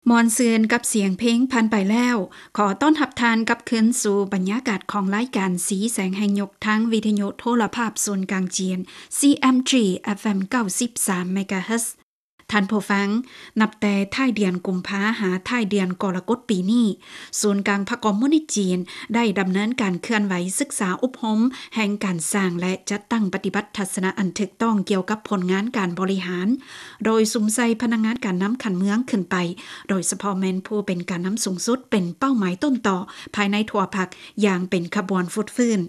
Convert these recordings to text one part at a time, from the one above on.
ມ່ວນຊື່ນກັບສຽງເພງຜ່ານໄປແລ້ວ, ຂໍຕ້ອນຮັບທ່ານກັບຄືນສູ່ບັນຍາກາດຂອງລາຍການສີແສງແຫ່ງຍຸກ ທາງວິທະຍຸໂທລະພາບສູນກາງຈີນ CMG FM ເກົ້າສິບສາມ MHz. ທ່ານຜູ້ຟັງ, ນັບແຕ່ທ້າຍເດືອນກຸມພາຫາທ້າຍເດືອນກໍລະກົດປີນີ້, ສູນກາງພັກຄອມມູນິດຈີນໄດ້ດຳເນີນການເຄື່ອນໄຫວສຶກສາອົບຮົມແຫ່ງການສ້າງ ແລະ ຈັດຕັ້ງປະຕິບັດທັດສະນະອັນຖືກຕ້ອງກ່ຽວກັບຜົນງານການບໍລິຫານ, ໂດຍສຸມໃສ່ພະນັກງານການນຳຂັ້ນເມືອງຂຶ້ນໄປ, ໂດຍສະເພາະແມ່ນຜູ້ເປັນການນຳສູງສຸດ ເປັນເປົ້າໝາຍຕົ້ນຕໍພາຍໃນທົ່ວພັກຢ່າງເປັນຂະບວນຟົດຟື້ນ.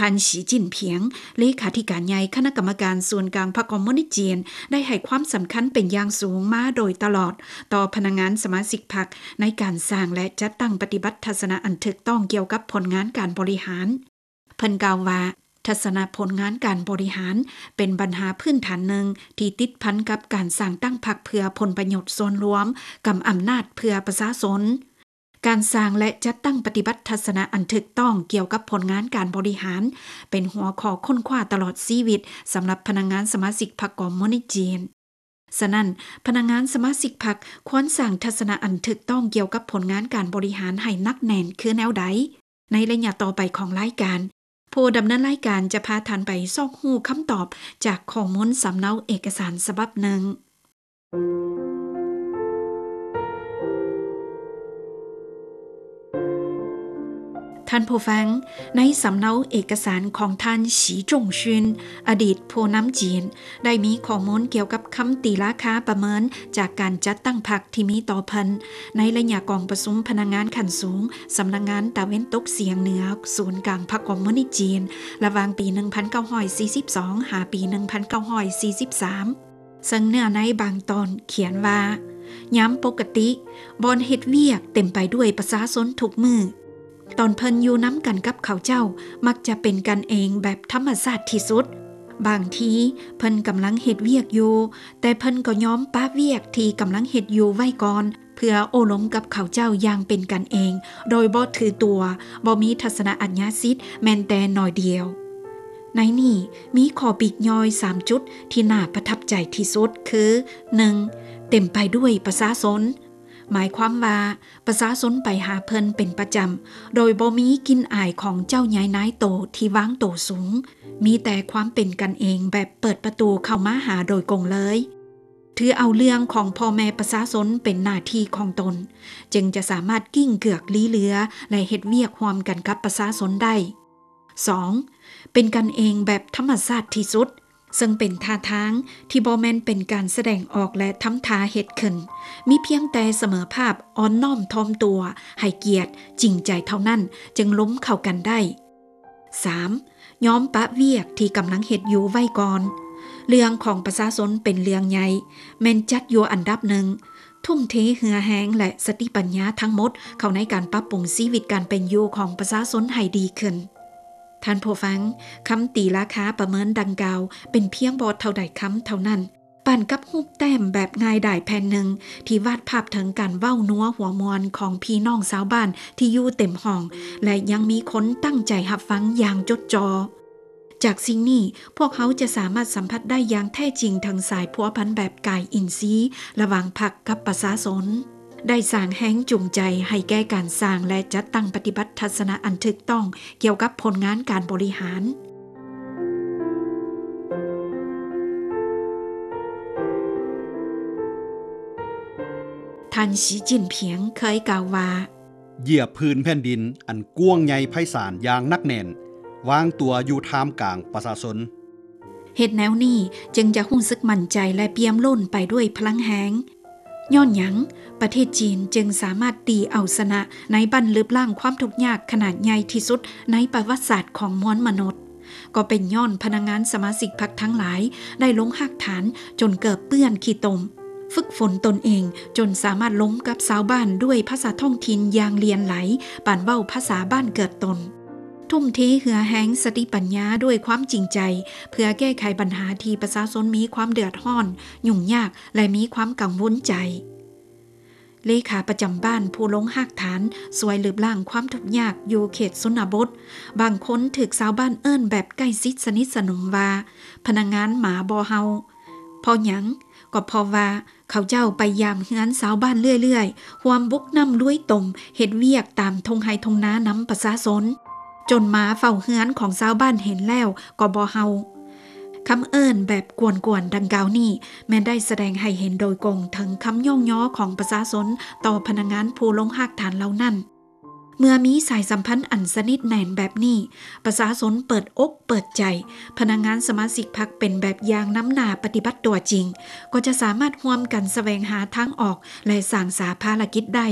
ທ່ານ ສີຈິ້ນຜິງ ເລຂາທິການໃຫຍ່ຄະນະກຳມະການສູນກາງພັກຄອມມູນິດຈີນ ໄດ້ໃຫ້ຄວາມສຳຄັນເປັນຢ່າງສູງມາໂດຍຕະຫຼອດຕໍ່ພະນັກງານສະມາຊິກພັກ ໃນການສ້າງ ແລະ ຈັດຕັ້ງປະຕິບັດທັດສະນະອັນຖືກຕ້ອງກ່ຽວກັບຜົນງານການບໍລິຫານ. ເພິ່ນກ່າວວ່າ, ທັດສະນະຜົນງານການບໍລິຫານເປັນບັນຫາພື້ນຖານໜຶ່ງທີ່ຕິດພັນກັບການສ້າງຕັ້ງພັກເພື່ອຜົນປະໂຫຍດສ່ວນລວມ, ກຳອຳນາດເພື່ອປະຊາຊົນ. ການສ້າງ ແລະ ຈັດຕັ້ງປະຕິບັດທັດສະນະອັນຖືກຕ້ອງກ່ຽວກັບຜົນງານການບໍລິຫານ ເປັນຫົວຂໍ້ຄົ້ນຄວ້າຕະຫຼອດຊີວິດສຳລັບພະນັກງານສະມາຊິກພັກຄອມມູນິດຈີນ. ສະນັ້ນ, ພະນັກງານສະມາຊິກພັກຄວນສ້າງທັດສະນະອັນຖືກຕ້ອງກ່ຽວກັບຜົນງານການບໍລິຫານໃຫ້ໜັກແໜ້ນຄືແນວໃດ? ໃນໄລຍະຕໍ່ໄປຂອງລາຍການ, ຜູ້ດຳເນີນລາຍການຈະພາທ່ານໄປຊອກຮູ້ຄຳຕອບຈາກຂໍ້ມູນສຳເນົາເອກະສານສະບັບໜຶ່ງ. ທ່ານຜູ້ຟັງ, ໃນສຳເນົາເອກະສານຂອງທ່ານ ສີຈົງຊຶນ ອະດີດຜູ້ນຳຈີນ ໄດ້ມີຂໍ້ມູນກ່ຽວກັບຄຳຕີລາຄາປະເມີນຈາກການຈັດຕັ້ງພັກທີ່ມີຕໍ່ເພິ່ນ ໃນໄລຍະກອງປະຊຸມພະນັກງານຂັ້ນສູງ ສຳນັກງານຕາເວັນຕົກສຽງເໜືອ ສູນກາງພັກຄອມມູນິດຈີນ ລະຫວ່າງປີໜຶ່ງພັນເກົ້າຮ້ອຍສີ່ສິບສອງ ຫາປີໜຶ່ງພັນເກົ້າຮ້ອຍສີ່ສິບສາມ ເຊິ່ງເນື້ອໃນບາງຕອນຂຽນວ່າ, ຍາມປົກກະຕິ, ບ່ອນເຮັດວຽກເຕັມໄປດ້ວຍປະຊາຊົນທຸກມື້. ຕອນເພິ່ນຢູ່ນຳກັນກັບເຂົາເຈົ້າ, ມັກຈະເປັນກັນເອງແບບທຳມະຊາດທີ່ສຸດ. ບາງທີເພິ່ນກຳລັງເຮັດວຽກຢູ່, ແຕ່ເພິ່ນກໍຍອມປະວຽກທີ່ກຳລັງເຮັດຢູ່ໄວ້ກ່ອນ, ເພື່ອໂອ້ລົມກັບເຂົາເຈົ້າຢ່າງເປັນກັນເອງ, ໂດຍບໍ່ຖືຕົວ, ບໍ່ມີທັດສະນະອາຍາສິດແມ່ນແຕ່ໜ້ອຍດຽວ. ໃນນີ້ມີຂໍ້ປີກຍ່ອຍສາມຈຸດທີ່ໜ້າປະທັບໃຈທີ່ສຸດ ຄື ໜຶ່ງ ເຕັມໄປດ້ວຍປະຊາຊົນ, ໝາຍຄວາມວ່າປະຊາຊົນໄປຫາເພິ່ນເປັນປະຈຳ, ໂດຍບໍ່ມີກິ່ນອາຍຂອງເຈົ້າໃຫຍ່ນາຍໂຕທີ່ວາງໂຕສູງ, ມີແຕ່ຄວາມເປັນກັນເອງແບບເປີດປະຕູເຂົ້າມາຫາໂດຍກົງເລີຍ. ຖືເອົາເລື່ອງຂອງພໍ່ແມ່ປະຊາຊົນເປັນໜ້າທີ່ຂອງຕົນ, ຈຶ່ງຈະສາມາດກິ້ງເກືອກລີເຫຼືອ ແລະ ເຮັດວຽກຮ່ວມກັນກັບປະຊາຊົນໄດ້. ສອງ ເປັນກັນເອງແບບທຳມະຊາດທີ່ສຸດ, ເຊິ່ງເປັນທ່າທາງທີ່ບໍ່ແມ່ນເປັນການສະແດງອອກ ແລະ ທຳທ່າເຮັດຂຶ້ນ, ມີພຽງແຕ່ສະເໝີພາບ, ອ່ອນນ້ອມຖ່ອມຕົວ, ໃຫ້ກຽດ, ຈິງໃຈເທົ່ານັ້ນ ຈຶ່ງລົມເຂົ້າກັນໄດ້. ສາມ ຍອມປະວຽກທີ່ກຳລັງເຮັດຢູ່ໄວ້ກ່ອນ. ເລື່ອງຂອງປະຊາຊົນເປັນເລື່ອງໃຫຍ່, ແມ່ນຈັດຢູ່ອັນດັບໜຶ່ງ, ທຸ່ມເທເຫື່ອແຮງ ແລະ ສະຕິປັນຍາທັງໝົດເຂົ້າໃນການປັບປຸງຊີວິດການເປັນຢູ່ຂອງປະຊາຊົນໃຫ້ດີຂຶ້ນ. ທ່ານຜູ້ຟັງ, ຄຳຕີລາຄາປະເມີນດັ່ງກ່າວເປັນພຽງບໍ່ເທົ່າໃດຄຳເທົ່ານັ້ນ, ປານກັບຮູບແຕ້ມແບບງ່າຍດາຍແຜ່ນໜຶ່ງ ທີ່ວາດພາບເຖິງການເວົ້ານົວຫົວມ່ວນຂອງພີ່ນ້ອງຊາວບ້ານທີ່ຢູ່ເຕັມຫ້ອງ ແລະ ຍັງມີຄົນຕັ້ງໃຈຮັບຟັງຢ່າງຈົດຈ່ອ. ຈາກສິ່ງນີ້, ພວກເຮົາຈະສາມາດສຳຜັດໄດ້ຢ່າງແທ້ຈິງເຖິງສາຍພົວພັນແບບກາຍອິນຊີລະຫວ່າງພັກກັບປະຊາຊົນ, ໄດ້ສ້າງແຮງຈູງໃຈໃຫ້ແກ່ການສ້າງ ແລະ ຈັດຕັ້ງປະຕິບັດທັດສະນະອັນຖືກຕ້ອງກ່ຽວກັບຜົນງານການບໍລິຫານ. ທ່ານ ສີຈິ້ນຜິງ ເຄີຍກ່າວວ່າ, ຢຽບພື້ນແຜ່ນດິນອັນກວ້າງໃຫຍ່ໄພສານຢ່າງໜັກແໜ້ນ, ວາງຕົວຢູ່ທ່າມກາງປະຊາຊົນ. ເຮັດແນວນີ້ຈຶ່ງຈະຮູ້ສຶກໝັ້ນໃຈ ແລະ ປ່ຽມລົ້ນໄປດ້ວຍພະລັງແຮງ. ຍ້ອນຫຍັງປະເທດຈີນຈຶ່ງສາມາດຕີເອົາຊະນະໃນບັ້ນລຶບລ້າງຄວາມທຸກຍາກຂະໜາດໃຫຍ່ທີ່ສຸດໃນປະຫວັດສາດຂອງມວນມະນຸດ? ກໍເປັນຍ້ອນພະນັກງານສະມາຊິກພັກທັງຫຼາຍໄດ້ລົງຮາກຖານຈົນເກີບເປື້ອນຂີ້ຕົມ, ຝຶກຝົນຕົນເອງຈົນສາມາດລົມກັບຊາວບ້ານດ້ວຍພາສາທ້ອງຖິ່ນຢ່າງຫຼຽນໄຫຼ, ປານເວົ້າພາສາບ້ານເກີດຕົນ. ທຸ່ມເທເຫື່ອແຮງສະຕິປັນຍາດ້ວຍຄວາມຈິງໃຈ ເພື່ອແກ້ໄຂບັນຫາທີ່ປະຊາຊົນມີຄວາມເດືອດຮ້ອນ, ຫຍຸ້ງຍາກ ແລະ ມີຄວາມກັງວົນໃຈ. ເລຂາປະຈຳບ້ານຜູ້ລົງຮາກຖານຊ່ວຍລຶບລ້າງຄວາມທຸກຍາກຢູ່ເຂດຊົນນະບົດ, ບາງຄົນຖືກຊາວບ້ານເອີ້ນແບບໃກ້ຊິດສະໜິດສະໜົມວ່າ ພະນັກງານໝາບໍ່ເຫົ່າ. ເພາະຫຍັງ? ກໍເພາະວ່າເຂົາເຈົ້າໄປຢາມເຮືອນຊາວບ້ານເລື້ອຍໆ, ຮ່ວມບຸກນ້ຳລຸຍຕົມ, ເຮັດວຽກຕາມທົ່ງໄຮ່ທົ່ງນານຳປະຊາຊົນ, ຈົນໝາເຝົ້າເຮືອນຂອງຊາວບ້ານເຫັນແລ້ວກໍບໍ່ເຫົ່າ. ຄຳເອີ້ນແບບກວນໆດັ່ງກ່າວນີ້ ແມ່ນໄດ້ສະແດງໃຫ້ເຫັນໂດຍກົງເຖິງຄຳຍ້ອງຍໍຂອງປະຊາຊົນຕໍ່ພະນັກງານຜູ້ລົງຮາກຖານເຫຼົ່ານັ້ນ. ເມື່ອມີສາຍສຳພັນອັນສະໜິດແໜ້ນແບບນີ້, ປະຊາຊົນເປີດອົກເປີດໃຈ, ພະນັກງານສະມາຊິກພັກເປັນແບບຢ່າງນຳໜ້າປະຕິບັດຕົວຈິງ, ກໍຈະສາມາດຮ່ວມກັນສະແຫວງຫາທາງອອກ ແລະ ສ້າງສາພາລະກິດໄດ້.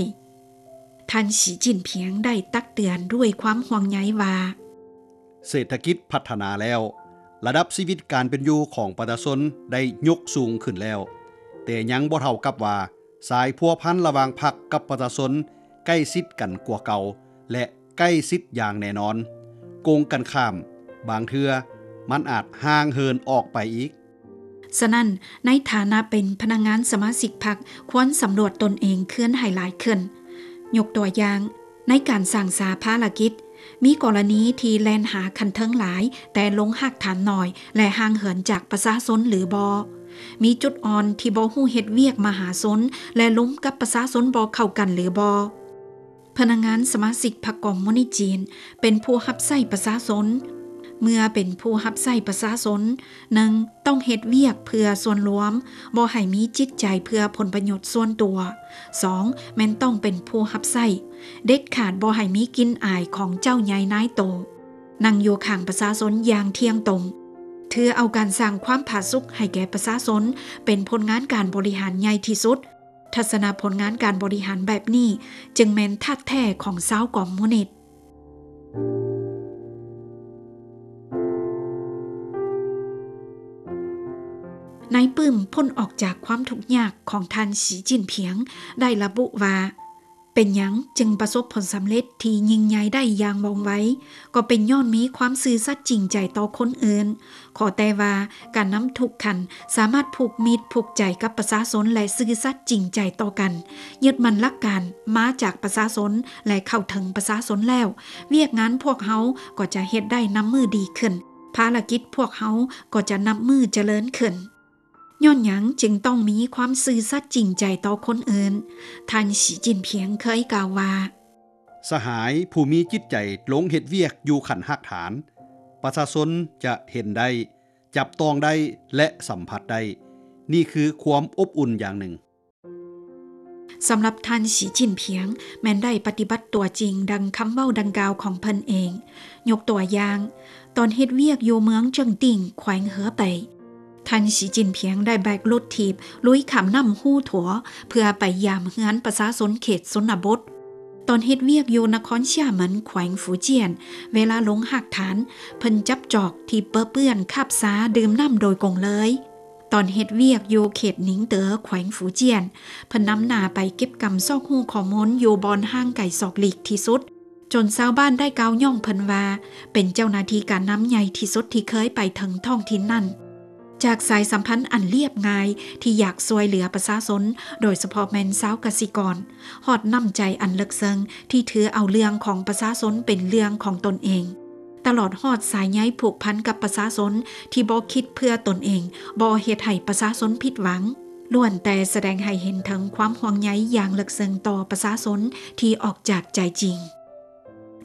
ທ່ານ ສີຈິ້ນຜິງ ໄດ້ຕັກເຕືອນດ້ວຍຄວາມຫ່ວງໃຍວ່າ ເສດຖະກິດພັດທະນາແລ້ວ, ລະດັບຊີວິດການເປັນຢູ່ຂອງປະຊາຊົນໄດ້ຍົກສູງຂຶ້ນແລ້ວ, ແຕ່ຍັງບໍ່ເທົ່າກັບວ່າ ສາຍພົວພັນລະຫວ່າງພັກກັບປະຊາຊົນໃກ້ຊິດກັນກວ່າເກົ່າ ແລະ ໃກ້ຊິດຢ່າງແນ່ນອນ. ກົງກັນຂ້າມ, ບາງເທື່ອມັນອາດຫ່າງເຫີນອອກໄປອີກ. ສະນັ້ນ, ໃນຖານະເປັນພະນັກງານສະມາຊິກພັກ, ຄວນສຳຫຼວດຕົນເອງຄືນໃຫ້ຫຼາຍຂຶ້ນ. ຍົກຕົວຢ່າງ, ໃນການສ້າງສາພາລະກິດ, ມີກໍລະນີທີ່ແລ່ນຫາຂັ້ນເທິງຫຼາຍ, ແຕ່ລົງຮາກຖານໜ້ອຍ ແລະ ຫ່າງເຫີນຈາກປະຊາຊົນຫຼືບໍ່? ມີຈຸດອ່ອນທີ່ບໍ່ຮູ້ເຮັດວຽກມະຫາຊົນ ແລະ ລົມກັບປະຊາຊົນບໍ່ເຂົ້າກັນຫຼືບໍ່? ພະນັກງານສະມາຊິກພັກຄອມມູນິດຈີນ ເປັນຜູ້ຮັບໃຊ້ປະຊາຊົນ. ເມື່ອເປັນຜູ້ຮັບໃຊ້ປະຊາຊົນ, ໜຶ່ງ ຕ້ອງເຮັດວຽກເພື່ອສ່ວນລວມ, ບໍ່ໃຫ້ມີຈິດໃຈເພື່ອຜົນປະໂຫຍດສ່ວນຕົວ. ສອງ ແມ່ນຕ້ອງເປັນຜູ້ຮັບໃຊ້, ເດັດຂາດບໍ່ໃຫ້ມີກິ່ນອາຍຂອງເຈົ້າໃຫຍ່ນາຍໂຕ. ນັ່ງຢູ່ຂ້າງປະຊາຊົນຢ່າງທ່ຽງຕົງ, ຖືເອົາການສ້າງຄວາມຜາສຸກໃຫ້ແກ່ປະຊາຊົນເປັນຜົນງານການບໍລິຫານໃຫຍ່ທີ່ສຸດ. ທັດສະນະຜົນງານການບໍລິຫານແບບນີ້ ຈຶ່ງແມ່ນທາດແທ້ຂອງຊາວຄອມມູນິດ. ໃນປຶ້ມພົ້ນອອກຈາກຄວາມທຸກຍາກຂອງທ່ານ ສີຈິ້ນຜິງ ໄດ້ລະບຸວ່າ ເປັນຫຍັງຈຶ່ງປະສົບຜົນສຳເລັດທີ່ຍິ່ງໃຫຍ່ໄດ້ຢ່າງວ່ອງໄວ? ກໍເປັນຍ້ອນມີຄວາມຊື່ສັດຈິງໃຈຕໍ່ຄົນອື່ນ. ຂໍແຕ່ວ່າການນຳທຸກຂັ້ນສາມາດຜູກມິດຜູກໃຈກັບປະຊາຊົນ ແລະ ຊື່ສັດຈິງໃຈຕໍ່ກັນ, ຍຶດໝັ້ນຫຼັກການມາຈາກປະຊາຊົນ ແລະ ເຂົ້າເຖິງປະຊາຊົນແລ້ວ, ວຽກງານພວກເຮົາກໍຈະເຮັດໄດ້ນັບມື້ດີຂຶ້ນ, ພາລະກິດພວກເຮົາກໍຈະນັບມື້ຈະເລີນຂຶ້ນ. ຍ້ອນຫຍັງຈຶ່ງຕ້ອງມີຄວາມຊື່ສັດຈິງໃຈຕໍ່ຄົນອື່ນ? ທ່ານ ສີຈິ້ນຜິງ ເຄີຍກ່າວວ່າ, ສະຫາຍຜູ້ມີຈິດໃຈລົງເຮັດວຽກຢູ່ຂັ້ນຮາກຖານ, ປະຊາຊົນຈະເຫັນໄດ້, ຈັບຕ້ອງໄດ້ ແລະ ສຳຜັດໄດ້. ນີ້ຄືຄວາມອົບອຸ່ນຢ່າງໜຶ່ງ. ສຳລັບທ່ານ ສີຈິ້ນຜິງ ແມ່ນໄດ້ປະຕິບັດຕົວຈິງດັ່ງຄຳເວົ້າດັ່ງກ່າວຂອງເພິ່ນເອງ. ຍົກຕົວຢ່າງ, ຕອນເຮັດວຽກຢູ່ເມືອງເຈິງຕິ້ງ ແຂວງເຮີເປຍ, ທ່ານ ສີຈິ້ນຜິງ ໄດ້ແບກລົດຖີບລຸຍຂ້າມນ້ຳຮູຖົວ ເພື່ອໄປຢາມເຮືອນປະຊາຊົນເຂດຊົນນະບົດ. ຕອນເຮັດວຽກຢູ່ນະຄອນຊຽເໝິນ ແຂວງຟູຈຽນ, ເວລາລົງຮາກຖານ, ເພິ່ນຈັບຈອກທີ່ເປິເປື້ອນຄາບຊາດື່ມນ້ຳໂດຍກົງເລີຍ. ຕອນເຮັດວຽກຢູ່ເຂດໜິງເຕີ ແຂວງຟູຈຽນ, ເພິ່ນນຳໜ້າໄປເກັບກຳຊອກຮູ້ຂໍ້ມູນຢູ່ບ່ອນຫ່າງໄກສອກຫຼີກທີ່ສຸດ, ຈົນຊາວບ້ານໄດ້ກ່າວຍ້ອງເພິ່ນວ່າ ເປັນເຈົ້າໜ້າທີ່ການນຳໃຫຍ່ທີ່ສຸດທີ່ເຄີຍໄປເຖິງທ້ອງຖິ່ນນັ້ນ. ຈາກສາຍສຳພັນອັນລຽບງ່າຍທີ່ຢາກຊ່ວຍເຫຼືອປະຊາຊົນ, ໂດຍສະເພາະແມ່ນຊາວກະສິກອນ, ຮອດນ້ຳໃຈອັນເລິກເຊິ່ງທີ່ຖືເອົາເລື່ອງຂອງປະຊາຊົນເປັນເລື່ອງຂອງຕົນເອງ, ຕະຫຼອດຮອດສາຍໃຍຜູກພັນກັບປະຊາຊົນທີ່ບໍ່ຄິດເພື່ອຕົນເອງ, ບໍ່ເຮັດໃຫ້ປະຊາຊົນຜິດຫວັງ, ລ້ວນແຕ່ສະແດງໃຫ້ເຫັນເຖິງຄວາມຫ່ວງໃຍຢ່າງເລິກເຊິ່ງຕໍ່ປະຊາຊົນທີ່ອອກຈາກໃຈຈິງ.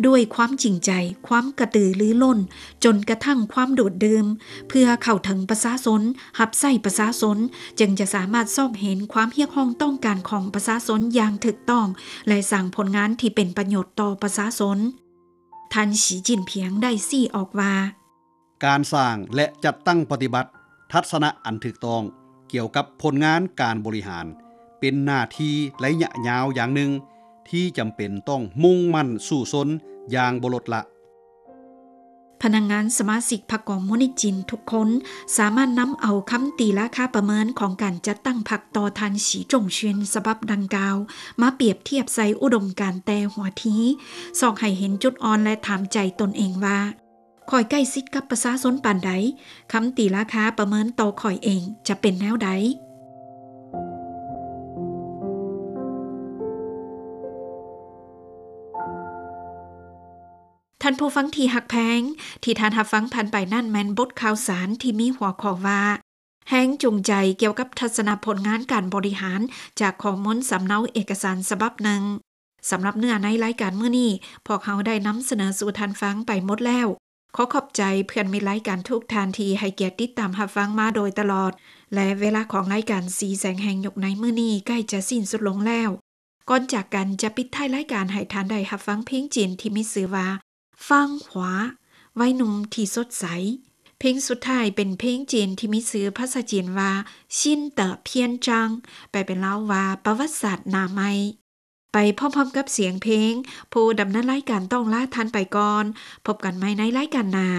ດ້ວຍຄວາມຈິງໃຈ, ຄວາມກະຕືລືລົ້ນ, ຈົນກະທັ່ງຄວາມດູດດື່ມ ເພື່ອເຂົ້າເຖິງປະຊາຊົນ, ຮັບໃຊ້ປະຊາຊົນ, ຈຶ່ງຈະສາມາດຊອກເຫັນຄວາມຮຽກຮ້ອງຕ້ອງການຂອງປະຊາຊົນຢ່າງຖືກຕ້ອງ ແລະ ສ້າງຜົນງານທີ່ເປັນປະໂຫຍດຕໍ່ປະຊາຊົນ. ທ່ານ ສີຈິ້ນຜິງ ໄດ້ຊີ້ອອກວ່າ, ການສ້າງ ແລະ ຈັດຕັ້ງປະຕິບັດທັດສະນະອັນຖືກຕ້ອງກ່ຽວກັບຜົນງານການບໍລິຫານ ເປັນໜ້າທີ່ໄລຍະຍາວຢ່າງໜຶ່ງທີ່ຈຳເປັນຕ້ອງມຸ່ງໝັ້ນສູ້ຊົນຢ່າງບໍ່ລົດລະ. ພະນັກງານສະມາຊິກພັກຄອມມູນິດຈີນທຸກຄົນ ສາມາດນຳເອົາຄຳຕີລາຄາປະເມີນຂອງການຈັດຕັ້ງພັກຕໍ່ທ່ານ ສີຈົງຊິນ ສະບັບດັ່ງກ່າວ ມາປຽບທຽບໃສ່ອຸດົມການແຕ່ຫົວທີ, ຊອກໃຫ້ເຫັນຈຸດອ່ອນ ແລະ ຖາມໃຈຕົນເອງວ່າ, ຂ້ອຍໃກ້ຊິດກັບປະຊາຊົນປານໃດ? ຄຳຕີລາຄາປະເມີນຕໍ່ຂ້ອຍເອງຈະເປັນແນວໃດ? ທ່ານຜູ້ຟັງທີ່ຮັກແພງ, ທີ່ທ່ານຮັບຟັງຜ່ານໄປນັ້ນແມ່ນບົດຂ່າວສານທີ່ມີຫົວຂໍ້ວ່າ ແຮງຈູງໃຈກ່ຽວກັບທັດສະນະຜົນງານການບໍລິຫານ ຈາກຂໍ້ມູນສຳເນົາເອກະສານສະບັບໜຶ່ງ. ສຳລັບເນື້ອໃນລາຍການມື້ນີ້, ພວກເຮົາໄດ້ນຳສະເໜີສູ່ທ່ານຟັງໄປໝົດແລ້ວ. ຂໍຂອບໃຈເພື່ອນມິດລາຍການທຸກທ່ານທີ່ໃຫ້ກຽດຕິດຕາມຮັບຟັງມາໂດຍຕະຫຼອດ ແລະ ເວລາຂອງລາຍການສີແສງແຫ່ງຍຸກໃນມື້ນີ້ໃກ້ຈະສິ້ນສຸດລົງແລ້ວ. ກ່ອນຈາກກັນຈະປິດທ້າຍລາຍການໃຫ້ທ່ານໄດ້ຮັບຟັງເພງຈີນທີ່ມີຊື່ວ່າ ຟາງຫວາ ໄວໜຸ່ມທີ່ສົດໃສ. ເພງສຸດທ້າຍເປັນເພງຈີນທີ່ມີຊື່ພາສາຈີນວ່າ 新的篇章 ແປເປັນລາວວ່າ ປະຫວັດສາດໜ້າໃໝ່. ໄປພ້ອມໆກັບສຽງເພງ, ຜູ້ດຳເນີນລາຍການຕ້ອງລາທ່ານໄປກ່ອນ. ພົບກັນໃໝ່ໃນລາຍການໜ້າ.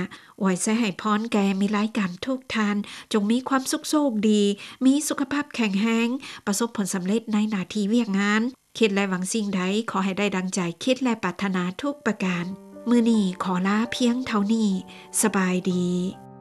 ອວຍໄຊໃຫ້ພອນແກ່ມິດລາຍການທຸກທ່ານ, ຈົ່ງມີຄວາມສຸກໂຊກດີ, ມີສຸຂະພາບແຂງແຮງ, ປະສົບຜົນສຳເລັດໃນໜ້າທີ່ວຽກງານ. ຄິດ ແລະ ຫວັງສິ່ງໃດ, ຂໍໃຫ້ໄດ້ດັ່ງໃຈຄິດ ແລະ ປາດຖະໜາທຸກປະການ. ມື້ນີ້ຂໍລາພຽງເທົ່ານີ້. ສະບາຍດີ.